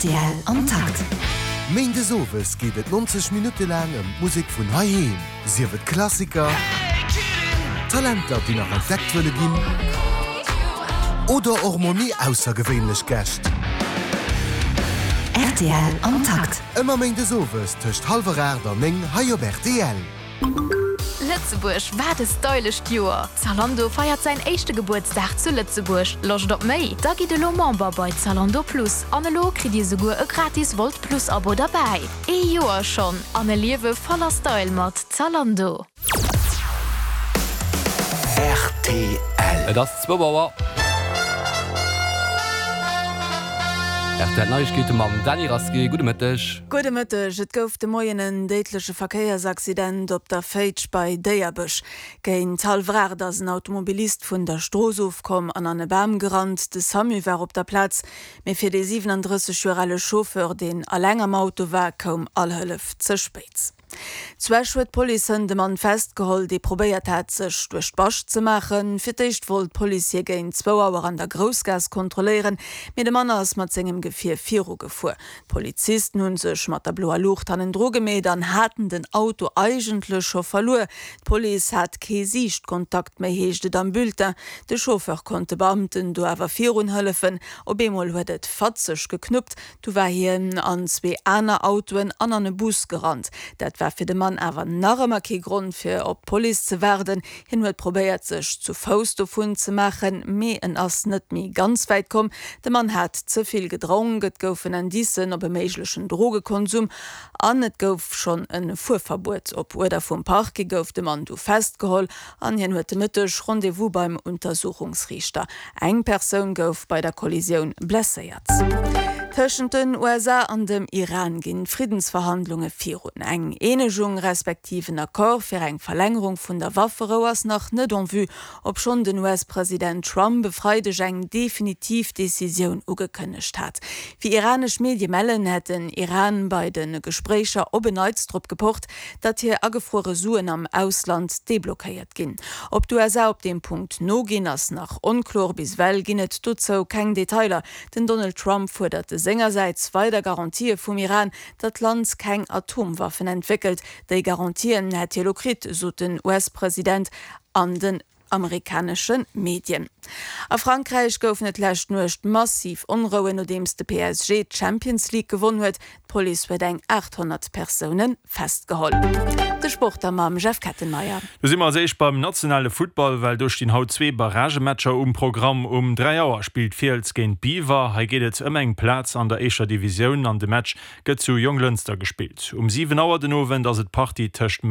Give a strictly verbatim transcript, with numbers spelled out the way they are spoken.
Rtl am Takt. Méindes owes geet et nonzeg Minutte laang ëm d'Musek vun heiheem. Sief et Klassiker, Talenter, déi nach entdeckt wëlle ginn, oder och mol méi aussergewéinlech Gäscht. Rtl am Takt. Ëmmer méindes owes tëscht hallwer aacht an néng hei op rtl. Lëtzebuerg, wat e stylescht Joer! Zalando feiert säin éischte Gebuertsdag zu Lëtzebuerg. Loscht op méi? Da gitt elo Member bei Zalando Plus. An elo kritt Dir souguer e gratis Wolt Plus Abo derbäi. Ee Joer schonn an e Liewe voller Style mat Zalando. Rtl. Et ass zwou Auer. Rtl Neiegkeete mam Dany Rasqué. Gudde Mëtteg. Gudde Mëtteg. Et gouf de Moien en déidleche Verkéiersaccident op der Féitsch bei Déierbech. Géint hallwer aacht ass en Automobilist vun der Strooss ofkomm an an e Bam gerannt. De Samu war op der Plaz, mee fir dee siwenandrësseg Joer ale Chauffeur, deen eleng am Auto war, koum all Hëllef ze spéit. Zu Esch huet d'Police hënt e Mann festgeholl, dee probéiert hat, sech duerch d'Bascht ze maachen. Fir d'éischt wollt d'Police hie géint zwou Auer an der Groussgaass kontrolléieren, mee de Mann ass mat sengem Gefier virugefuer. D'Polizisten hu sech mat der bloer Luucht hannendru gemeet an haten den Auto eigentlech scho verluer. D'Police hat kee Siichtkontakt méi, heescht et am Bulletin. De Chauffeur konnt de Beamten do awer virun hëllefen. Op eemol huet et fatzeg geknuppt, du war hien an zwee aner Autoen an an e Bus gerannt. Dat war fir de Mann awer nach ëmmer kee Grond fir op d'Police ze waarden. Hien huet probéiert sech zu Fouss dovun ze maachen, mee en ass net méi ganz wäit komm. De Mann hat ze vill gedronk, et goufen Indicen op e méiglechen Drogekonsum an et gouf schonn e Fuerverbuet. Op Uerder vum Parquet gouf de Mann du festgeholl an hien huet de Mëtteg Rendez-vous beim Untersuchungsriichter. Eng Persoun gouf bei der Kollisioun blesséiert. Tëschent den U S A an dem Iran ginn d'Friddensverhandlunge virun. Eng Eenegung respektiv en Accord fir eng Verlängerung vun der Wafferou ass nach net en vue, obschonn den U S-President Trump e Freideg eng definitiv Decisioun ugekënnegt hat. Wéi iranesch Medie mellen, hätt den Iran bei de Gespréicher op en Neits drop gepocht, datt hir agefruere Suen am Ausland deblockéiert ginn. Ob d'U S A op deem Punkt noginn, ass nach onkloer. Bis ewell ginn et dozou keng Detailer. Den Donald Trump fuerdert sengersäits weider Garantië vum Iran, datt d'Land keng Atomwaffen entwéckelt. Déi Garantien hätt hie lo kritt, sot den U S-President an den amerikanesche Medien. A Frankräich goufen et d'lescht Nuecht massiv Onrouen, nodeems de P S G d'Champions League gewonn huet. D'Police huet eng aathonnert Persoune festgeholl. De Sport da mam Jeff Kettenmeyer. Do si mer als éischt beim nationale Futtball, well do stinn haut zwee Barragematcher um Programm. Um dräi Auer spillt Fiels géint Biwer. Hei geet et ëm eng Plaz an der éischter Divisioun an de Match gëtt zu Jonglënster gespillt. Um siwen Auer den Owend ass et d'Partie tëscht